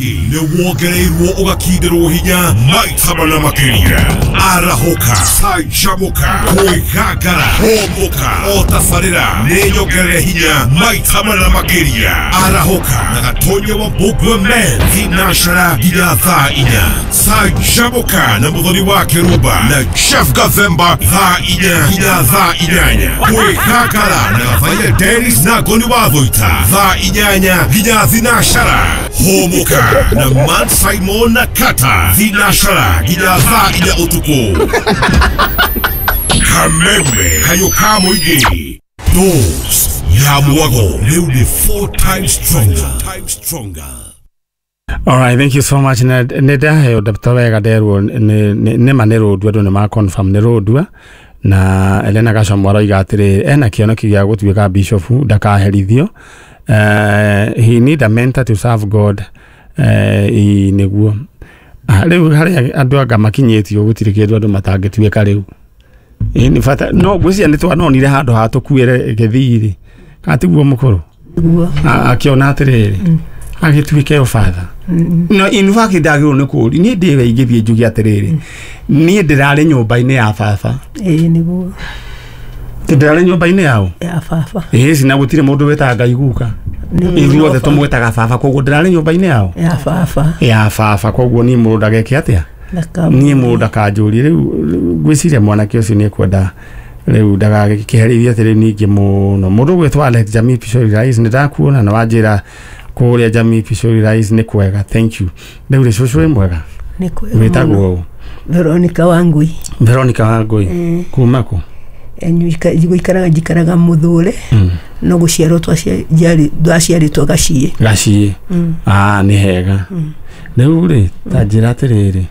Mũingĩ nĩ wongereirwo ũgakindĩrwo hinya maita mana makĩria. Arahũka, canjamũka, kwĩgangara, hũmũka, o tabarĩra nĩ nyongerere hinya maita mana makĩria. Arahũka na Gatonya wa Mbũmbua Men thinacara nginya thaa 4. Canjamũka na Mũthoni wa Kĩrumba na Jeff Gathemba thaa 4 nginya thaa 8. Kwĩgangara na Gathaia Dennis na Ngoni wa Thũita thaa 8 nginya thinacara. Hũmũka na Man Simon na Kata thinacara nginya thaa 4 ũtukũ. Kameme kayũ ka mũingĩ. Dose ya mwago rĩu nĩ 4 times stronger. All right, thank you so much. Nĩ ndaheo ndabta wega nderwo nĩ ma nĩ Rũndua, andũ nĩ ma confirm nĩ Rũndua. Na Elena Gacamũ aroiga atĩrĩ ena kĩoneki gĩa gũtuĩka bishop, ndakaherithio. He need a mentor to serve God. Nĩguo rĩu harĩa andũ anga makinyĩtio gũtirĩ kĩndũ andũ matangĩtuĩka rĩu. Nĩ bata no ngwĩciria nĩ twanonire handũ ha tũkuĩre gĩthiri kana tiguo mũkũrũ akĩona atĩrĩrĩ agĩtuĩke o father. No in fact ndagĩrĩirwo nĩ kũũria niĩ ndĩwe ingĩthiĩ njuge atĩrĩrĩ niĩ ndĩrarĩ nyũmba-inĩ ya baba. Ĩĩ nĩguo. Ndĩrarĩ nyũmba-inĩ yao ya baba. Ĩĩ cina gũtirĩ mũndũ wĩtaga Ngai guka, ithuothe tũmwĩtaga baba, koguo ndĩrarĩ nyũmba-inĩ yao ya baba. Ya baba, koguo niĩ mũndũ ndageke atĩa, niĩ mũndũ ndakanjũrie. Rĩu ngwĩciria mwanake ũcio nĩ ekwenda rĩu ndagakĩherithie atĩrĩ ningĩ mũno. Mũndũ ũgwĩtwo Alex Jamii Pishori Rais, nĩ ndakuona na wanjĩra kũrĩa Jamii Pishori Rais nĩ kwega, thank you. Rĩu rĩ cũcũ wĩ mwega? Nĩ kwega. Wĩtagwo ũ? Veronica Wangui. Veronica Wangui. Kuma kũ? Njikaraga njikaraga Mũthũre, no gũciarwo twaciarĩtwo Gaciĩ. Gaciĩ. Nĩ hega. Rĩu rĩ ta njĩra atĩrĩrĩ,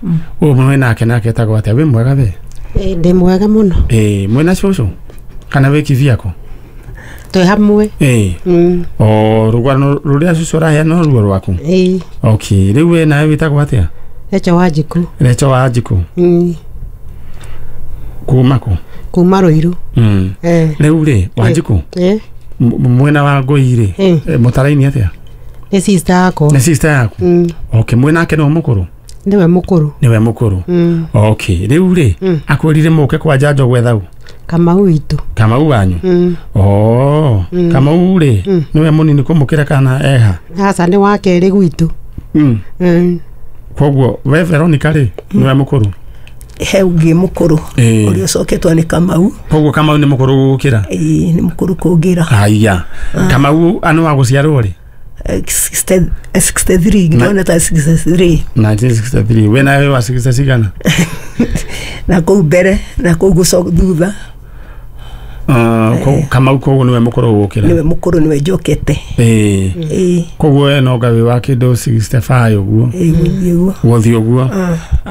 ũyũ mwĩ nake nake etagwo atĩa? Wĩ mwega we? Ndĩ mwega mũno. Mwĩna cũcũ kana wĩ kivyako? Twĩ hamwe. O rũgano rũrĩa cũcũ araheana no ruo rwaku? Okay, rĩu we nawe wĩtagwo atĩa? Recho Wanjikũ. Recho Wanjikũ. Kuma kũ? Kuma Rũirũ. Rĩu rĩ Wanjikũ, mwena wa Ngũi rĩ mũtaraini atĩa? Nĩ sister yakwa. Nĩ sister yaku? Okay, mwĩnake nĩwe mũkũrũ? Nĩwe mũkũrũ. Nĩwe mũkũrũ. Okay, rĩu rĩ akwĩrire mũke kwa njanjo gwetha ũ? Kamau witũ. Kamau wanyu? Kamau rĩ nĩwe mũnini kũmũkĩra kana eha? Aca nĩ wa kerĩ gwitũ. Koguo we Veronica rĩ nĩwe mũkũrũ? He ũngĩ mũkũrũ ũrĩa ũcoketwo nĩ Kamau. Koguo Kamau nĩ mũkũrũ gũgũkĩra? Ĩĩ nĩ mũkũrũ kũngĩra. Haiya. Kamau nĩ wa gũciarwo rĩ? 63, ngĩona ta 63. 1963. We nawe wa 60 cigana? Na kũu mbere na kũu gũcoka thutha. Kamau koguo nĩwe mũkũrũ gũgũkĩra? Nĩwe mũkũrũ, nĩwe njokete. Koguo we no nga wĩ wa kĩndũ 65 ũguo? Ĩĩ ũguo. Gũthiĩ ũguo.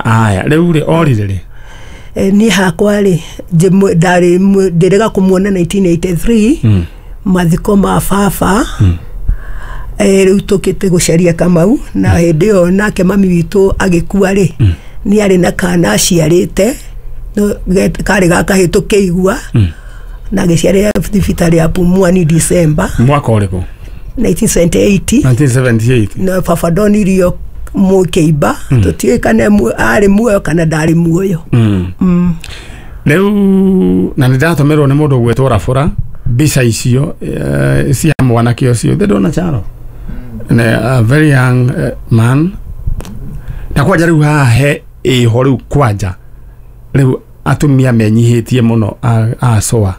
Aya, rĩu rĩ orire rĩ? Niĩ hakwa rĩ ndarĩ ndĩrega kũmuona 1983 mathiko ma baba. Rĩu tũkĩte gũcaria Kamau na hĩndĩ ĩyo nake mami witũ agĩkua rĩ nĩ arĩ na kana aciarĩte karĩ ga kahĩĩ tũkĩigua na agĩciarĩra thibitarĩ ya Pumwani December. Mwaka ũrĩkũ? 1978. 1978. Na baba ndonirio mũkĩimba, tũtiũĩ kana arĩ muoyo kana ndarĩ muoyo. Rĩu na nĩ ndatũmĩrwo nĩ mũndũ ũgwĩtwo Rabũra mbica icio cia mwanake ũcio ndĩndona Charo. A very young man. Na kwanja rĩu haha he ĩho rĩu kwanja rĩu atumia menyihĩtie mũno acoa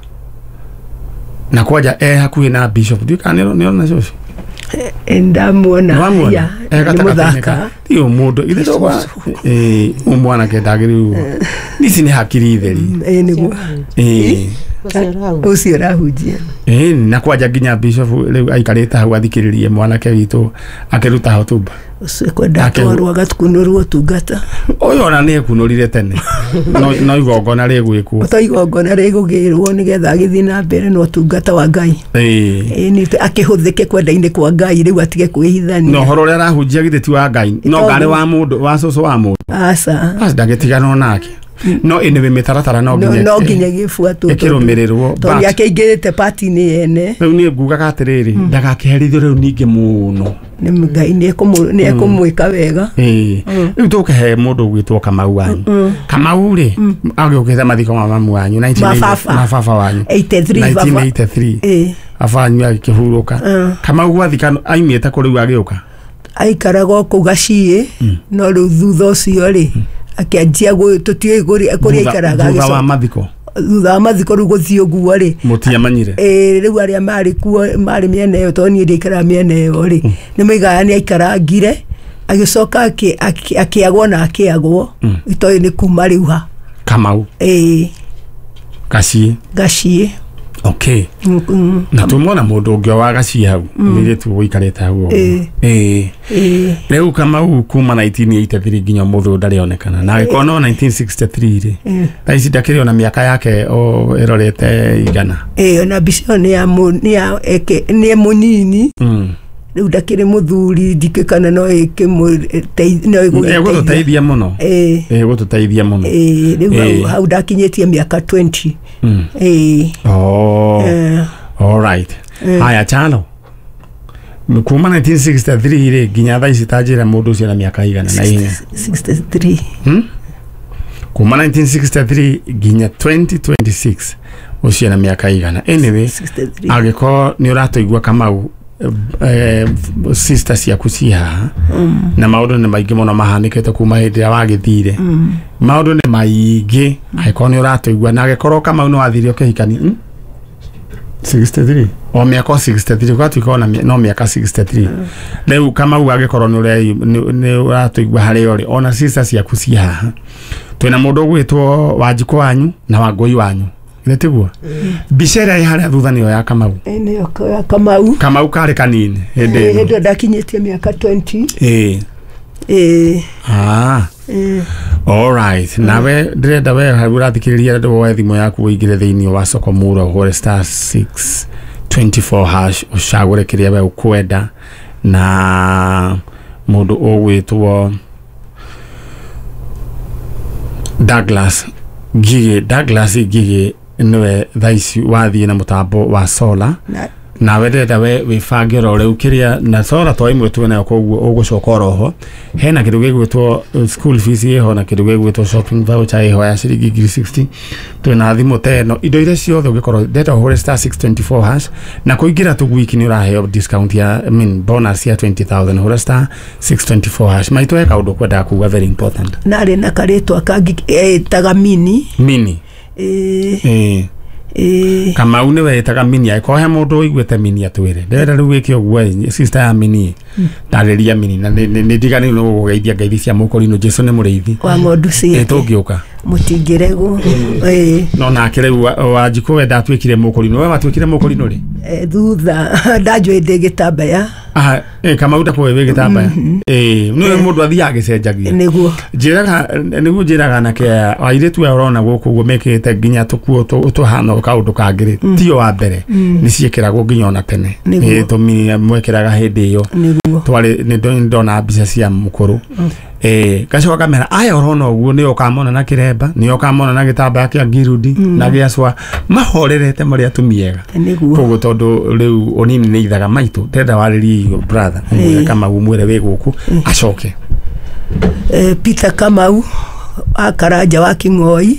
na kwanja e hakuhĩ na bishop. Ndiũĩ kana nĩona cũcũ? Ndamuona. Nĩ mũthaka. Ti mũndũ ithe ndogwa mwanake ndagĩrĩirwo. Ici nĩ hakiri theri. Ĩĩ nĩguo. Ũcio ũrahunjia. Na kwanja nginya bishop rĩu aikarĩte hau athikĩrĩrie mwanake witũ akĩruta hotuba. Ũcio kwenda atwarwo agatukunũrwo ũtungata. Ũyũ ona nĩ ekunũrire tene. No igongona rĩgwĩkwo. To igongona rĩgũgĩrwo nĩgetha agĩthiĩ na mbere na ũtungata wa Ngai. Ĩĩ akĩhũthĩke kwenda-inĩ kwa Ngai rĩu atige kwĩhithania. Na ũhoro ũrĩa arahunjia githĩ ti wa Ngai, no ngarĩ wa mũndũ, wa cũcũ wa mũndũ. Aca. Aca ndagĩtiganwo nake. No anyway mĩtaratara no nginya no nginya gĩbuatwo ĩkĩrũmĩrĩrwo, tondũ but- akĩingĩrĩte pati-inĩ yene. Rĩu niĩ ngugaga atĩrĩrĩ, ndagakĩherithio rĩu ningĩ mũno. Nĩ Ngai nĩ ekũmwĩka wega. Ĩĩ, rĩu tũkĩhe mũndũ ũgwĩtwo Kamau wanyu. Kamau rĩ, agĩũkĩte mathiko ma mamu wanyu Ma baba. ma baba wanyu 83 baba. 1983. Ĩĩ. Baba wanyu agĩkĩhurũka. Kamau gwathika aimĩte kũ rĩu agĩũka? Aikaraga o kũu Gaciĩ, no rĩu thutha ũcio rĩ akĩanjia tũtiũĩ kũrĩa aikaraga. Thutha wa mathiko? Thutha wa mathiko rĩu gũthiĩ ũguo rĩ, mũtiamanyire? Ĩĩ, rĩu arĩa marĩ kuo marĩ mĩena ĩyo, tondũ niĩ ndiaikaraga mĩena ĩyo rĩ, nĩ moigaga nĩ aikarangire agĩcoka akĩagwo na akĩagwo, itoĩ nĩ kuma rĩu ha. Kamau? Ĩĩ. Gaciĩ? Gaciĩ. Okay. Na tumwona mũndũ ũngĩ wa Gaciĩ hau, mũirĩtu ũikarĩte hau ũguo. Ĩĩ. Ĩĩ. Ĩĩ. Rĩu Kamau kuma 1983 nginya ũmũthĩ ũyũ ndarĩ onekana, na agĩkorwo no 1963 rĩ, thaa ici ndakĩrĩ ona mĩaka yake o ĩrorete igana. Ĩĩ, ona mbica ĩyo nĩ ya nĩ ya nĩ mũnini. Rĩu ndakĩrĩ mũthuri, ndikĩ kana no no ĩgũgĩteithia. Ĩgũtũteithia mũno. Ĩĩ. Ĩgũtũteithia mũno. Ĩĩ, rĩu hau ndakinyĩtie mĩaka 20. Ĩĩ. Oh. All right. Haya, Chalo, kuma 1963 rĩ nginya thaa ici, ta njĩra mũndũ ũcio na mĩaka igana na ihenya. 63. Kuma 1963 nginya 2026 ũcio na mĩaka igana. Anyway, 63. Angĩkorwo nĩ ũratũigua Kamau, sister ciaku ci haha, na maũndũ nĩ maingĩ mũno mahanĩkĩte kuma hĩndĩ ĩrĩa wagĩthire. Maũndũ nĩ maingĩ. Angĩkorwo nĩ ũratũigua na angĩkorwo Kamau nĩ wathire ũkĩhikani, 63 o mĩaka o 63 ũgatuĩka ona no mĩaka 63 rĩu. Kamau, angĩkorwo nĩ ũratũigua harĩa ũrĩ, ona sister ciaku ci haha, twĩna mũndũ ũgwĩtwo Wanjikũ wanyu na Wangũi wanyu, nĩ tiguo? Mbica ĩrĩa ĩ harĩa thutha nĩyo ya Kamau? Ĩĩ, nĩyo ya Kamau. Kamau karĩ kanini hĩndĩ Ĩĩ, ĩno? Hĩndĩ ĩyo ndakinyĩtie mĩaka 20. Ĩĩ. Ĩĩ. Ah. Ĩĩ. Alright, nawe ndĩrenda we hau ũrathikĩrĩria andũ woe thimũ yaku ũingĩre thĩinĩ wa soko mura, ũhũre *624# ũcagũre kĩrĩa we ũkwenda, na mũndũ ũgwĩtwo Douglas Ngigĩ, Douglas Ngigĩ nĩwe thaa ici wathiĩ na mũtambo wa solar. Na Nawe ndĩrenda we wĩbange oro rĩu kĩrĩa na solar to ĩmwe twĩ nayo, koguo ũgũcoka oroho hena kĩndũ gĩgwĩtwo school fees ĩho, na kĩndũ gĩgwĩtwo shopping voucher ĩho ya ciringi 60,000. Twĩna thimũ ta ĩno, indo iria ciothe ũngĩkorwo ndĩrenda ũhũre *624# na kũingĩra tu wiki nĩ ũraheo discount ya, I mean, bonus ya 20,000. Hũra *624# maitũ. He kaũndũ kwendaga kuga very important. Narĩ na karĩtwa kangĩ etaga Mini. Mini? Ĩĩ. Ĩĩ. Ĩĩ. Kamau nĩwe ĩtaga Mini. Angĩkorwo he mũndũ ũiguĩte Mini atwĩre. Ndĩrenda rĩu wĩke ũguo, sister ya Mini, ndarĩria Mini na nĩ ndiganĩirwo nĩ gũgũgeithia ngeithi cia mũkũrinũ. Jesu nĩ mũrĩithi Wa ng'ondu ĩ ciake. Tũngĩũka. Mũtingĩregwo. Ĩĩ. No nake rĩu Wanjikũ we ndatuĩkire mũkũrinũ, we watuĩkire mũkũrinũ rĩ? Thutha ndanjũĩ ndĩ gĩtambaya. Ah, Kamau ndakũĩ wĩ gĩtambaya. Ĩ nĩ mũndũ athiaga agĩcenjagia. Nĩguo. Njĩraga nĩguo, njĩraga anake aya, airĩtu aya ũrona gũkũ ũguo mekĩrĩte nginya tũkuo tũhana kaũndũ kangĩ rĩ, tio wa mbere nĩ ciĩkĩragwo nginya ona tene. Nĩguo. Ĩ, tũmini mwekĩraga hĩndĩ ĩyo. Nĩguo. Twarĩ nĩ ndona mbica cia mũkũrũ. Gacoka kamera aya ũrona ũguo nĩo ũkamona na kĩremba, nĩo ũkamona na gĩtambaya kĩa ngirudi na gĩa cwa, mahorerete marĩ atumia ega. Nĩguo. Koguo tondũ rĩu ũnini nĩ ithaga maitũ, ndĩrenda warĩrie irio brother, ũmwĩre Kamau, mwĩre wĩ gũkũ acoke. Peter Kamau wa Karanja wa King'oi,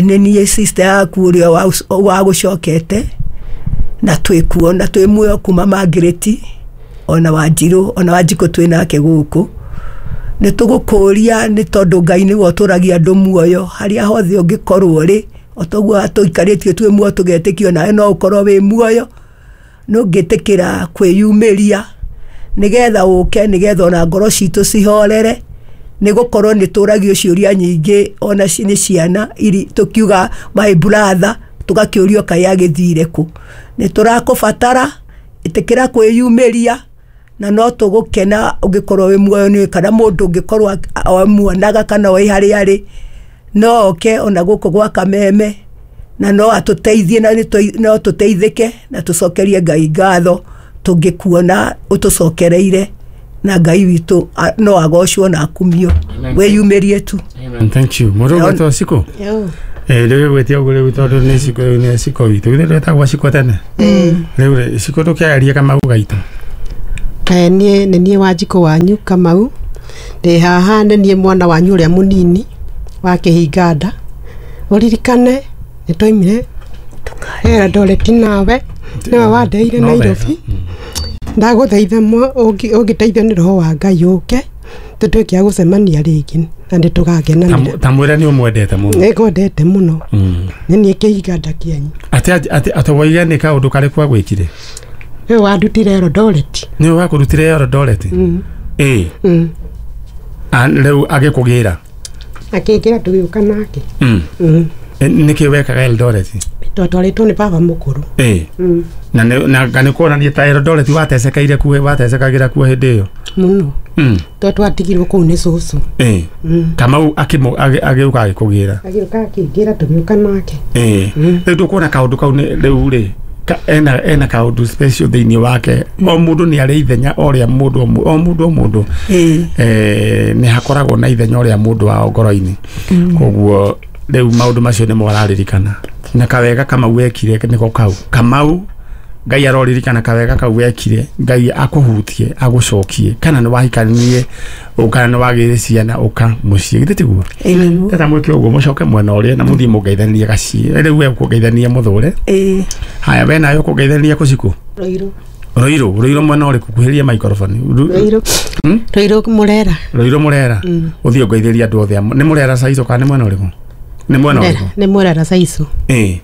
nĩ niĩ sister yaku ũrĩa wagũcokete, na twĩ kuo na twĩ muoyo kuma Margaret ona Wanjirũ ona Wanjikũ twĩ nake gũkũ. Nĩ tũgũkũria nĩ tondũ Ngai nĩwe ũtũragia andũ muoyo harĩa hothe ũngĩkorwo rĩ, o toguo tũikarĩtio twĩ muoyo tũgetĩkio, nawe no ũkorwo wĩ muoyo no ũngĩtĩkĩra kwĩyumĩria nĩgetha ũke, nĩgetha ona ngoro citũ cihorere, nĩ gũkorwo nĩ tũragio ciũria nyingĩ ona nĩ ciana iri tũkiuga my brother, tũgakĩũrio kaĩ agĩthire kũ. Nĩ tũrakũbatara, ĩtĩkĩra kwĩyumĩria na no tũgũkena ũngĩkorwo wĩ muoyo nĩ kana mũndũ ũngĩkorwo amuonaga kana oĩ harĩa arĩ, no oke ona gũkũ gwa Kameme na no atũteithie na no tũteithĩke na tũcokerie Ngai ngatho tũngĩkuona ũtũcokereire, na Ngai witũ no agocwo na akumio. Wĩyumĩrie tu. Amen. Thank you. Mũndũ ũgwĩtwo Cikũ? Rĩu gwĩtia ũguo rĩu tondũ nĩ Cikũ, rĩu nĩ Cikũ witũ. Githĩ ndwetagwo Cikũ tene? Rĩu rĩ, Cikũ ndũkĩaria Kamau gaitũ. Niĩ nĩ niĩ Wanjikũ wanyu Kamau. Ndĩ haha nĩ niĩ mwana wanyu ũrĩa mũnini wa kĩhinganda. Ũririkane nĩ twaimire Eldoret nawe, nĩwe wandeire Nairobi. Ndagũthaitha ũngĩteithio nĩ roho wa Ngai ũke tũtuĩke a gũcemania rĩngĩ na nĩ tũgakenanĩra. Ta mwĩre nĩ ũmwendete mũno. Nĩ ngwendete mũno. Nĩ niĩ kĩhinganda kĩanyu. Atĩ woige nĩ kaũndũ karĩkũ agwĩkire? Nĩwe wandutire Eldoret. Nĩwe wakũrutire Eldoret? Ĩĩ. Rĩu agĩkũgĩra? Akĩngĩra tũgĩũka nake. Nĩkĩ wekaga Eldoret? Twatwarĩtwo nĩ baba mũkũrũ. Ĩĩ. Na nĩ kuonania ta Eldoret watecekeire kuo, watecekagĩra kuo hĩndĩ ĩyo? Mũno. Twatigirwo kũu nĩ cũcũ. Ĩĩ. Kamau agĩũka agĩkũgĩra? Agĩũka akĩngĩra tũgĩũka nake. Ĩĩ. Rĩu tũkuona kaũndũ kau rĩu rĩ, ena kaũndũ special thĩinĩ wake. O mũndũ nĩ arĩ ithenya o rĩa mũndũ, o mũndũ o mũndũ. Nĩ hakoragwo na ithenya o rĩa mũndũ wao ngoro-inĩ. Koguo rĩu maũndũ macio nĩmo araririkana. Na kawega Kamau wekire nĩko kau. Kamau Ngai aroririkana kawega kau wekire, Ngai akũhutie, agũcokie. Kana nĩ wahikanirie, kana nĩ wagĩire ciana ũka mũciĩ. Githĩ tiguo? Tata mwĩke ũguo mũcoke mwena ũrĩa na mũthiĩ mũngeithanie gaciĩ. Rĩu we ũkũngeithania mũthũre. Haya, we nawe ũkũngeithania kũ Cikũ? Rũirũ. Rũirũ, Rũirũ mwena ũrĩkũ? Kuhĩrĩria microphone. Rũirũ. Rũirũ Mũrera. Rũirũ Mũrera. Ũthiĩ ũngeithĩrie andũ othe. Nĩ Mũrera Saico kana nĩ mwena ũrĩkũ? Nĩ mwena ũrĩkũ? Nĩ Mũrera Saico. Ĩĩ.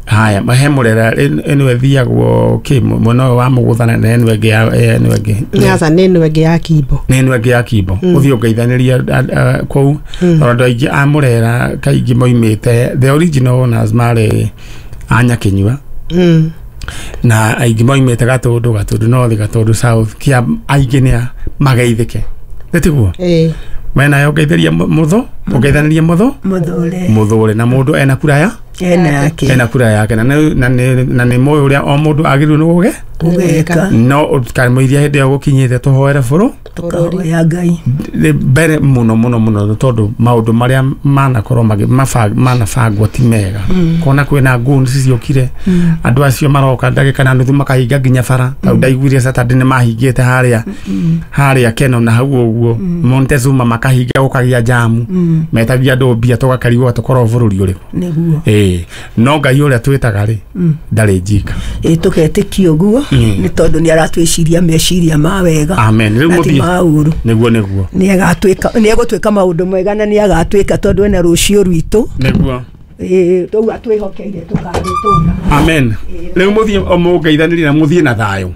Haya, he Mũrera ĩno ĩthiagwo kĩ mwena ũyũ wa Mũgũthana na ĩno ĩngĩ ya ĩno ĩngĩ. Nyaza nĩ ĩno ĩngĩ ya Kimbo. Nĩ ĩno ĩngĩ ya Kimbo. Ũthiĩ ũngeithanĩrie kũu. Tondũ andũ aingĩ a Mũrera kaingĩ moimĩte the original owners marĩ a Nyakĩnyua. Na aingĩ moimĩte Gatũndũ, Gatũndũ North, Gatũndũ South, kĩa aingĩ nĩ mageithĩke. Nĩ tiguo? Ĩĩ. We nawe ũngeithĩrie mũthũ, ũngeithanĩrie mũthũ? Mũthũre. Mũthũre. Na mũndũ ena kura ya? Ena yake. Ena kura yake. Na nĩ mũĩ ũrĩa o mũndũ agĩrĩirwo nĩ gũge? Gũgeka. No ũkamũiria hĩndĩ ĩyo gũkinyĩte tũhoere bũrũ? Tũkahoya Ngai. Mbere mũno mũno mũno tondũ maũndũ marĩa manakorwo manabangwo ti mega. Kona kwĩna goons ciokire, andũ acio maroka ndagĩka na nuthu makahinga nginya bara. Tau ndaiguire Saturday nĩ mahingĩte harĩa harĩa Keno na hau ũguo Montezuma makahinga gũkagĩa jamu. Metagia andũ mbia tũgakarigwo tũkorwo bũrũri ũrĩkũ. Nĩguo. Ĩĩ. No Ngai ũrĩa twĩtaga rĩ, ndarĩ njika. Ĩĩ, tũgetĩkia ũguo nĩ tondũ nĩ aratwĩciria meciria ma wega. Amen. Rĩu mũthiĩ. Maũru. Nĩguo nĩguo. Nĩ egũtuĩka maũndũ mega na nĩ agatwĩka tondũ ena rũciũ rwitũ. Nĩguo. Ĩĩ, tũu atwĩhokeire tũkarũtũra. Amen. Rĩu mũthiĩ mũngeithanĩrie na mũthiĩ na thayũ.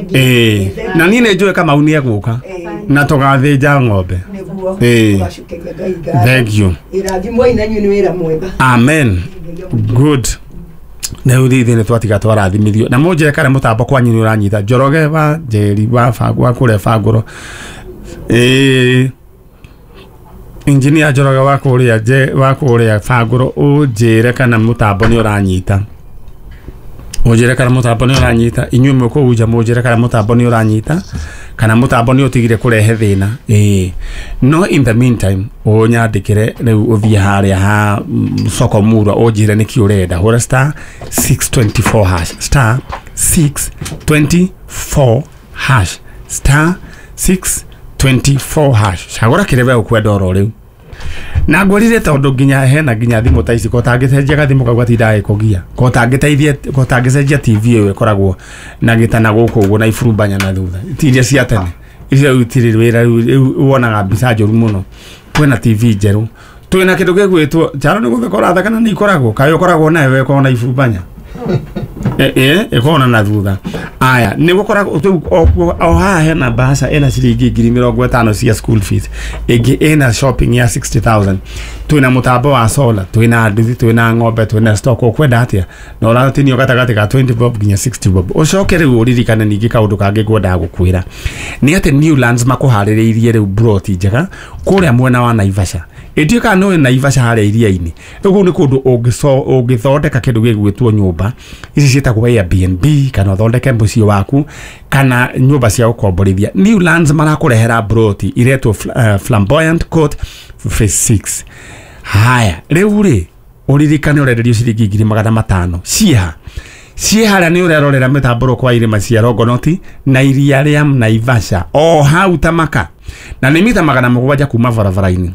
Ĩĩ. Na niĩ nĩ njũĩ Kamau nĩ egũka. Na tũgathĩnja ng'ombe. Nĩguo. Ĩĩ. Tũgacokeria Ngai ngatho. Thank you. Ĩrathimwo na inyuĩ nĩ wĩra mwega. Amen. Good. Rĩu ithuĩ nĩ twatiga twarathimithio. Na mũnjĩre kana mũtambo kwanyu nĩ ũranyita. Njoroge wa Njeri wa wa kũrĩa Bangũro. Ĩĩ. Engineer Njoroge wa kũrĩa wa kũrĩa Bangũro ũnjĩre kana mũtambo nĩ ũranyita. Mũnjĩre kana mũtambo nĩ ũranyita. Inyuĩ mwĩ kũu nja mũnjĩre kana mũtambo nĩ ũranyita. Kana mũtambo nĩ ũtigire kũrehe thĩna. Ĩĩ. No in the meantime ũnyandĩkĩre rĩu ũthiĩ harĩa ha soko murwa ũnjĩre nĩkĩ ũrenda. Hũra star 624 hash. Star 624 hash. Star 624 hash. Cagũra kĩrĩa we ũkwenda oro rĩu. Na ngwĩrire tondũ nginya hena nginya thimũ ta ici ko tangĩcenjia gathimũ kau gatindaga gĩkũgia. Ko tangĩteithia, ko tangĩcenjia TV ĩyo ĩkoragwo na gĩtana gũkũ ũguo na iburumbanya na thutha. Ti iria cia tene. Icio rĩu itirĩ wĩra rĩu wonaga mbica njũru mũno. Kwĩna TV njerũ. Twĩna kĩndũ gĩgwĩtwo Njaro nĩ gũtheka ũratheka na nĩ ikoragwo. Kaĩ ũkoragwo nayo we ũkoragwo na iburumbanya. Ĩkoragwo na thutha. Aya, nĩ gũkoragwo rĩu o haha hena bahasha ĩna ciringi 50,000 cia school fees. Ĩngĩ ĩna shopping ya 60,000. Twĩna mũtambo wa solar, twĩna nduthi, twĩna ng'ombe, twĩna stock. Ũkwenda atĩa? Na ũratinio gatagatĩ ka 20 bob nginya 60 bob. Ũcoke rĩu ũririkane ningĩ kaũndũ kangĩ ngwendaga gũkwĩra. Nĩ atĩ Newlands makũharĩrĩirie rĩu broti njega kũrĩa mwena wa Naivasha. Ĩtuĩkaga nĩ Naivasha harĩa iria-inĩ. Rĩu kũu nĩ kũndũ ũngĩthondeka kĩndũ gĩgwĩtwo nyũmba. Ici ciĩtagwo Airbnb kana ũthondeke mũciĩ waku kana nyũmba cia gũkomborithia. Newlands marakũrehera broti iretwo Flamboyant Court Phase 6. Haya rĩu rĩ ũririkane ũrenderio ciringi 500,000 ciha ciĩ harĩa nĩ ũrerorera mĩtambũrũko kwa irĩma cia Longonot na iria rĩa Naivasha o hau Tamaka na nĩ mita 700 kuma barabara-inĩ.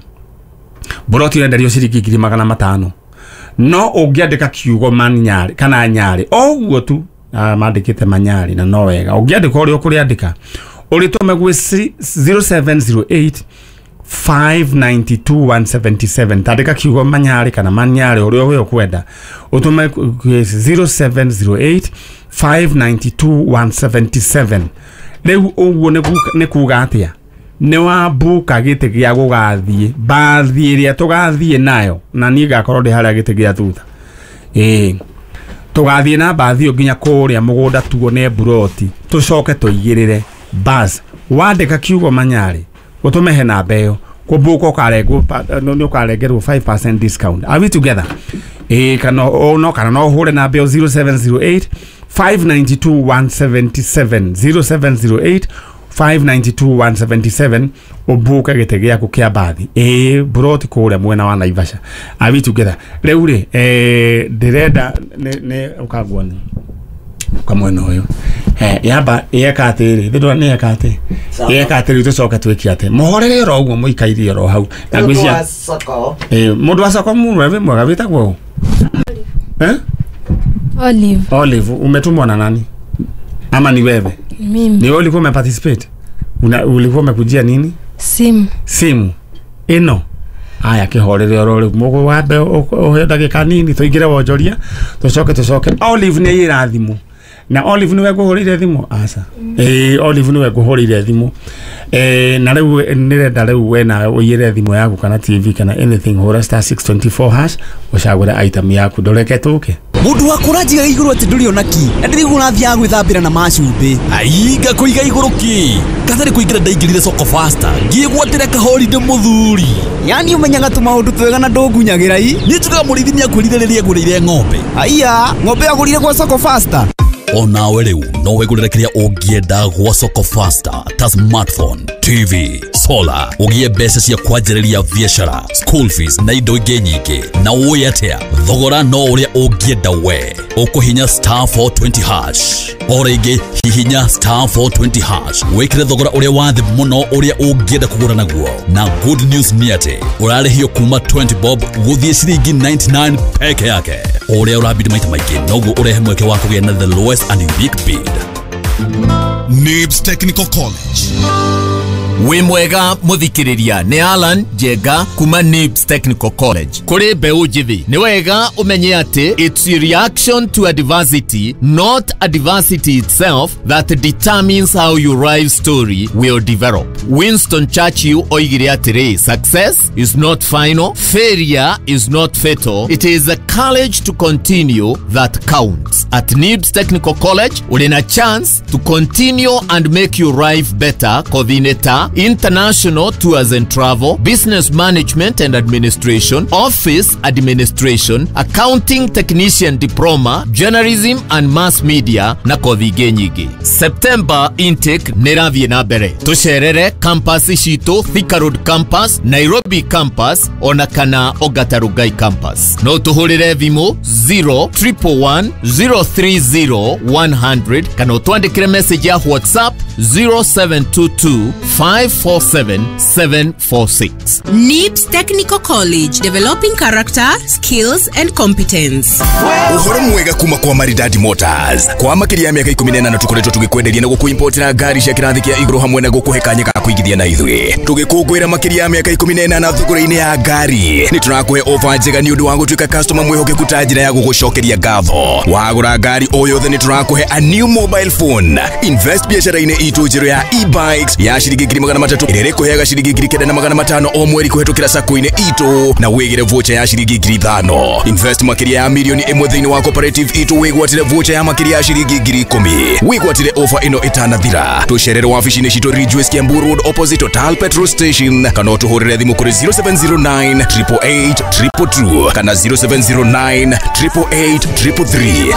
Buroti ũrenderio ciringi 500,000 no ũngĩandĩka kiugo Manyarĩ kana Nyarĩ o ũguo tu, mandĩkĩte Manyarĩ na no wega ũngĩandĩka ũrĩa ũkũrĩandĩka ũrĩtũme gwĩ 0708 592 177. Tandĩka kiugo Manyarĩ kana Manyarĩ ũrĩa we ũkwenda ũtũme 0708 592 177. Rĩu ũguo nĩ kuga atĩa? Nĩ wambuka gĩtĩ gĩa gũgathiĩ mbathi ĩrĩa tũgathiĩ nayo na niĩ ngakorwo ndĩ harĩa gĩtĩ gĩa thutha. Ĩĩ tũgathiĩ na mbathi ĩyo nginya kũrĩa mũgũnda tuone buroti tũcoke tũigĩrĩre bas. Wandĩka kiugo Manyarĩ ũtũme he namba ĩyo kũmbuka ũkarengwo nĩ ũkarengerwo 5% discount. Are we together? Ĩĩ kana no kana no ũhũre namba ĩyo 0708 592 177 0708 592 177 ũmbuke gĩtĩ gĩaku kĩa mbathi ĩĩ buroti kũrĩa mwena wa Naivasha. Are we together? Rĩu rĩ ndĩrenda nĩ ũkanguoni kamwena ũyũ yamba yeka atĩrĩ thĩ nĩ yeka atĩ yeka atĩrĩ tũcoke twĩke atĩ mũhorere oro ũguo mũikaire oro hau na ngwĩciria mũndũ wa soko mũndũ wĩ mwega wĩtagwo Olive. Olive, umetumwa na nani ama ni wewe? Mimi. Ni wewe ulikuwa umeparticipate? Ulikuwa umekujia nini? Simu. Simu ĩno aya kĩhorere oro rĩu mũgũ wambe ũhe ndagĩka nini tũingĩre wonjoria tũcoke Olive nĩ ĩra thimũ na Olive nĩwe ngũhũrĩire thimũ aca. Olive nĩwe ngũhũrĩire thimũ na rĩu nĩrenda rĩu we nawe ũiyĩre thimũ yaku kana TV kana anything hũra star 624 hash ũcagũre item yaku ndũreke tũke. Mundu wa kũranjiga igũrũ atĩ ndũrĩ ona ki na ndĩrĩguo ũrathiaga gwĩthambĩra na macumbĩ ainga kũiga igũrũ ki katharĩ kũingĩra ndaingĩrire soko faster ngĩgwatĩra kahorinde mũthuri yani ũmenyaga tũmaũndũ twega na ndũngunyagĩra i niĩ njugaga mũrĩithi nĩakwĩrire rĩrĩa ngũrĩire ng'ombe aiya ng'ombe agũrire gwa soko faster. Onawe rĩu no wĩgũrĩre kĩrĩa ũngĩenda gwa soko faster ta smartphone, TV, solar, ũgĩe mbeca cia kwanjĩrĩria biacara, school fees na indo ingĩ nyingĩ. Na ũĩ atĩa thogora no ũrĩa ũngĩenda we ũkũhinya star 420 hash o rĩngĩ hihinya star 420 hash wĩkĩre thogora ũrĩa wa thĩ mũno ũrĩa ũngĩenda kũgũra naguo. Na good news nĩ atĩ ũrarĩhio kuma 20 bob gũthiĩ ciringi 99 peke yake. Ũrĩa ũrabidi maita maingĩ noguo ũrehe mweke wa kũgĩa na the lowest and unique bid. Nibs Technical College. Wĩ mwega mũthikĩrĩria nĩ Alan Njenga kuma Nibs Technical College. Kũrĩ mbeũ njĩthĩ nĩ wega ũmenye atĩ it's a reaction to adversity, not adversity itself, that determines how your life story will develop. Winston Churchill oigire atĩrĩ, success is not final, failure is not fatal, it is the courage to continue that counts. At Nibs Technical College ũrĩ na chance to continue and make your life better kothi-inĩ ta international tours and travel, business management and administration, office administration, accounting technician diploma, journalism and mass media na kothi ingĩ nyingĩ. September intake nĩ ĩrathiĩ na mbere. Tũcerere campus citũ Thika Road campus, Nairobi campus ona kana Ongata Rongai campus. No tũhũrĩre thimũ 0111 030 100 kana ũtwandĩkĩre message ya WhatsApp 0722 547 746. Nibs Technical College, developing character, skills and competence. Uhoro mwega kuma kwa Maridadi Motors. Kwa makiria ya miaka 18 tukoretwo tugikwenderia na gukuimportera ngari cia kirathi kia iguru hamwe na gukuhe kanya ga kuigithia na ithuĩ. Tugikũngũĩra makiria ya miaka 18 thogora-inĩ ya ngari. Nĩ tũrakũhe offer njega nĩ ũndũ wa gũtuĩka customer mwĩhokeku ta njĩra ya gũgũcokeria ngatho. Wagũra ngari o yothe nĩ tũrakũhe a new mobile phone. Invest biacara-inĩ itũ njerũ ya e-bikes ya ciringi 300 ĩrĩa ĩrĩkũheaga ciringi 9,500 o mweri kũhetũkĩra sacco-inĩ itũ na wĩgĩre voucher ya ciringi 5,000. Invest makĩria ya milioni 1 thĩinĩ wa cooperative itũ wĩgwatĩre voucher ya makĩria ya ciringi 10,000. Wĩgwatĩre offer ĩno ĩtanathira. Tũcerere wabici-inĩ citũ Ridgeways Kiambu Road opposite Total Petrol Station kana ũtũhũrĩre thimũ kũrĩ 0709 888 222 kana 0709 888 333.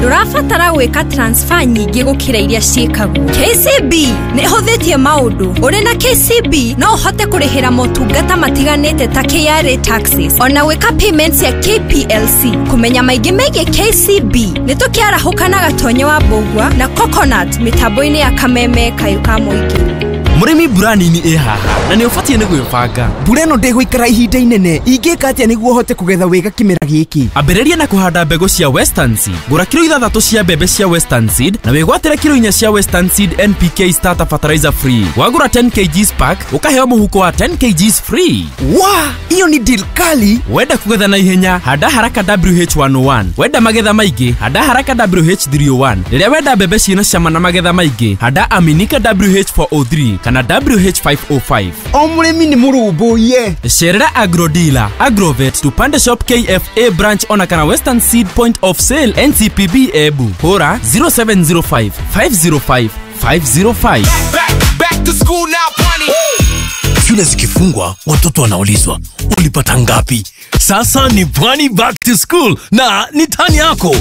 Ndũrabatara gwĩka transfer nyingĩ gũkĩra iria ciĩkagwo. KCB nĩ ĩhũthĩtie maũndũ. Ũrĩ na KCB no ũhote kũrĩhĩra motungata matiganĩte ta KRA taxes, ona gwĩka payments ya KPLC. Kũmenya maingĩ megiĩ KCB nĩ tũkĩarahũka na Gatonye wa Mbũgua na Coconut mĩtambo-inĩ ya Kameme Kayũ ka Mũingĩ. Mũrĩmi, mbura nini ĩ haha na nĩ ũbatiĩ nĩ gwĩbanga. Mbura ĩno ndĩgũikara ihinda inene. Ingĩka atĩa nĩguo hote kũgetha wega kĩmera gĩkĩ? Ambĩrĩria na kũhanda mbegũ cia Western Seed. Gũra kiro 6 cia mbembe cia Western Seed na wĩgwatĩre kiro 4 cia Western Seed NPK starter fertilizer free. Wagũra 10 kgs pack ũkaheo mũhuko wa 10 kgs free. Wa, iyo ni deal kali. Wenda kũgetha na ihenya, handa haraka WH101. Wenda magetha maingĩ, handa haraka WH301. Rĩrĩa wenda mbembe ciĩna cama na magetha maingĩ, handa Aminika WH403 kana WH505. O mũrĩmi nĩ mũrũmbũiye. Cerera Agrodealer, Agrovet, Tupande Shop KFA branch ona kana Western Seed Point of Sale NCPB Ebu. Hũra 0705 505 505. Back to school now, Pwani. Shule zikifungwa, watoto wanaulizwa, ulipata ngapi? Sasa ni Pwani Back to School na ni tani yako.